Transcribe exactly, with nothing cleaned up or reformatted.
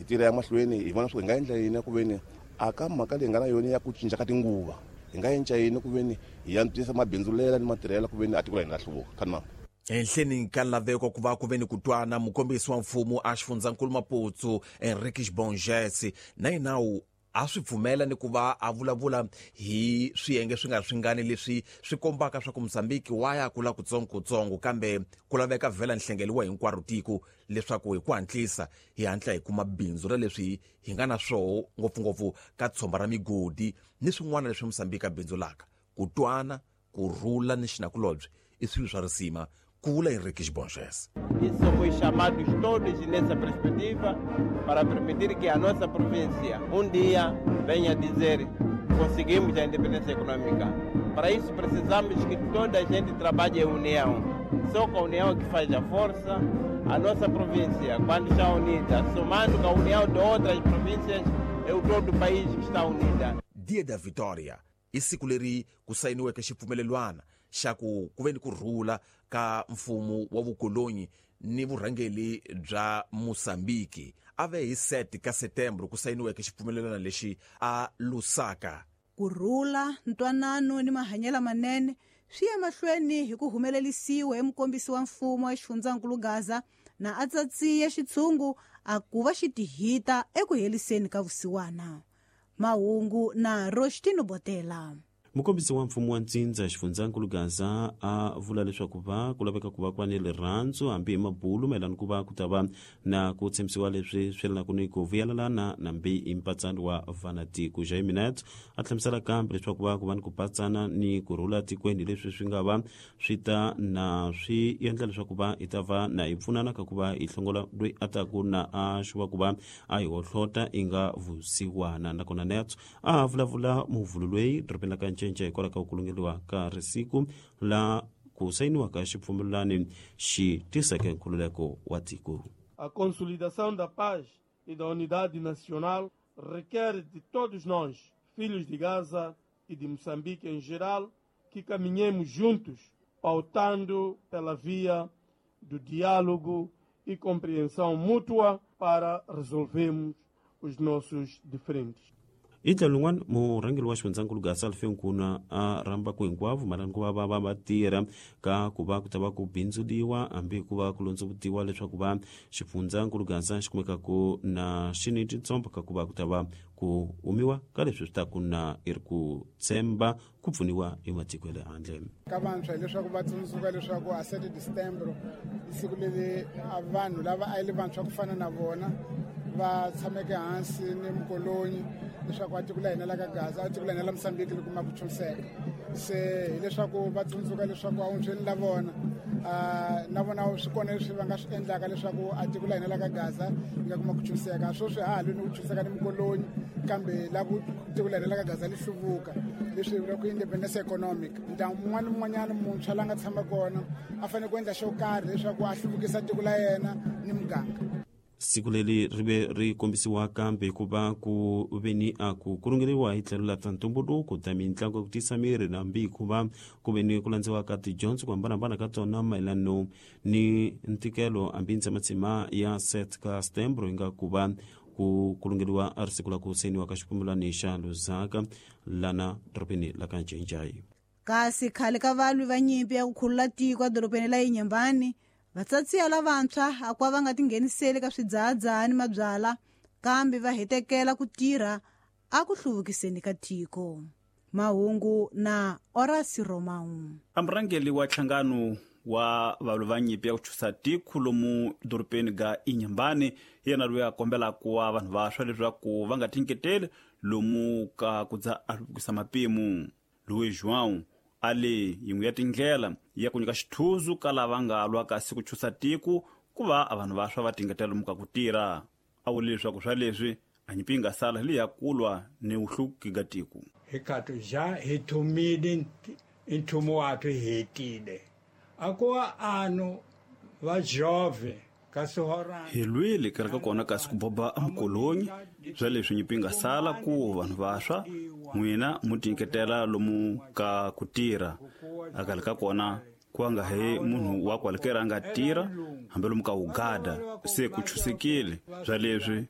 Hi tirha ya mahlweni hi vona swo hi nga endla yini ku veni a ka mhaka leyi nga na yona ya ku cinca ka tinguva hi nga endla yini ku veni hi antswisa mabindzulela ni matirhelo ku veni a tiko la hina ra hluvuka khanima. Henhleni ka laveko ku va ku ve ni ku twana, mukombisi wa mfumo a xifundzankulu Maputo Henriques Borges na yena a swi pfumela ni ku va a vulavula hi swiyenge swi nga swingani leswi swi kombaka swa ku Mozambique wa ya kula kutsongokutsongo, kambe ku laveka vhela nhlengeliwa hinkwaro tiko leswaku hi ku hatlisa hi hatla hi kuma bindzu ra leswi hi nga na swoho, ngopfungopfu ka tshomba ra migodi ni swin'wana leswi Mozambique a bindzulaka. Ku twana, ku rhula ni xinakulobye i swilo swa risima, ku vula Henriques Borges. E somos chamados todos nessa perspectiva para permitir que a nossa província um dia venha dizer conseguimos a independência econômica. Para isso precisamos que toda a gente trabalhe em união. Só com a união que faz a força. A nossa província, quando está unida, somando com a união de outras províncias, é o todo o país que está unida. Dia da Vitória i siku leri ku sayiniweke xipfumelelwana xa ku ku ve ni ku rhula ka mfumo wa vukolonyi ni vurhangeli bya Mozambique. A ve hi sete ka Setembro ku sayiniweke xipfumelelwana lexi a Lusaka. Ku rhula, ntwanano ni mahanyelo manene swi ya mahlweni hi ku humelerisiwa hi mukombisi wa mfumo wa xifundzankulu Gaza na a tsatsiye xitshungu a ku va xi tihita eku heliseni ka vusiwana. Mahungu na Roshtino Botela. Mukombisi wa mfumo wa ntsindza xifundzankulu Gaza a vula leswaku va ku laveka ku va ku va ni rirhandzu hambi hi mabulu mayelana ku va ku ta va na ku tshembisiwa leswi swi yelanaku ni ku vuyelelana nambi hi mpatsano wa vanatiko. Jaime Neto a hlamusela kambe leswaku va ku va ni ku patsana ni ku rhula tikweni leswi swi nga va swi ta na swi endla leswaku va hi ta va na hi pfunana ka ku va hi hlongola loyi a taku na a xuva ku va a hi hohlota i nga vusiwana. Nakona Neto a vulavula muvhulu loyi dorobeni la ka Ncince hikwalaho ka ku kulungeliwa ka risiku la ku sayiniwa ka xipfumelelani xi tiseke nkhululeko wa tiko. A consolidação da paz e da unidade nacional requer de todos nós, filhos de Gaza e de Moçambique em geral, que caminhemos juntos, pautando pela via do diálogo e compreensão mútua para resolvermos os nossos diferentes. Hi tlhelo rin'wana, murhangeri wa xifundzankulu Gaza Alfeu Nkuna a rhamba ku hinkwavo mayelana ku va va va va tirha ka ku va ku ta va ku bindzuliwa hambi ku va ku londzovutiwa leswaku va xifundzankulu Gaza xi kumekaku na xi ni titsomba ka ku va ku ta va ku humiwa ka leswi swi taku na i ri ku tshemba ku pfuniwa hi matiko ya le handle. Ka vantshwa hileswaku va tsundzuka leswaku a sete December i siku leri vanhu lava a yi ri vantshwa ku fana na vona va tshameke hansi ni mukolonyi leswaku a tiko la hina la ka Gaza a tiko la hina la Mozambique ri kuma ku chunseka. Se hileswaku va tsundzuka leswaku a wuntshweni la vona na vona swi kona leswi va nga swi endlaka leswaku a tiko la hina la ka Gaza ri nga kuma ku chunseka. Sweswi ha ha lwi ni ku chunseka ni mukolonyi, kambe la ku tiko la hina la ka Gaza li hluvuka, leswi hi vulaka independence economic. Ndyangu wun'wana ni wun'wanyana muntshwa la nga tshama kona a fanele ku endla xo karhi leswaku a hluvukisa tiko la yena ni muganga. Siku leri ri ve ri kombisiwa kambe ku va ku ve ni a ku kurungeriwa hi tlhelo la ta ntumbuluko ta mitlangu ya ku tisa miri nambi ku va ku ve ni ku landziwa ka tidyondzo ku hambanahambana ka tona mayelano ni ntikelo hambi ntsematshima ya set ka Setembro yi nga ku va ku kulungeriwa a ri siku la ku sayiniwa ka xipfumelani xa Lusaka lana dorobeni la ka Ncincayi. Kasi khale ka valwi va nyimpi ya ku khulula tiko edorobeni la Inhambane, vatsatsiya lavantshwa a ku va nga tingheniseli ka swidzahadzahani mabyala, kambe va hetekela ku tirha a ku hluvukiseni ka tiko. Mahungu na Orasi Romau. A murhangeri wa nhlangano wa valwi va nyimpi ya ku chusa tiko lomu dorobeni ga Inhambane, yena loyi a kombelaka wa vanhu vantshwa leswaku va nga tinyiketeli lomu ka ku dza a hluvukisa mapimo. Luis João a le yin'we ya tindlela ya ku nyika xithuzu ka lava nga lwa kasi ku chusa tiko ku va a vanhu vantshwa va tingetela lomu ka ku tirha. A vule leswaku swa leswi a nyimpi yi nga sala leyi ya ku lwa ni vuhluvuki ga tiko. Hikato ja hi thumile nthumo wathu hi hetile a ku wa ano va jove hi lwile kereke kona kasi ku boba a mukolonyi swa leswi nyimpi nga sala ku vanhu vantshwa n'wina mu tinyiketela lomu ka ku tirha. A kale ka kona ku nga he munhu wa kwalekera a nga tirha hambi lomu ka ugada se ku chusekile swa leswi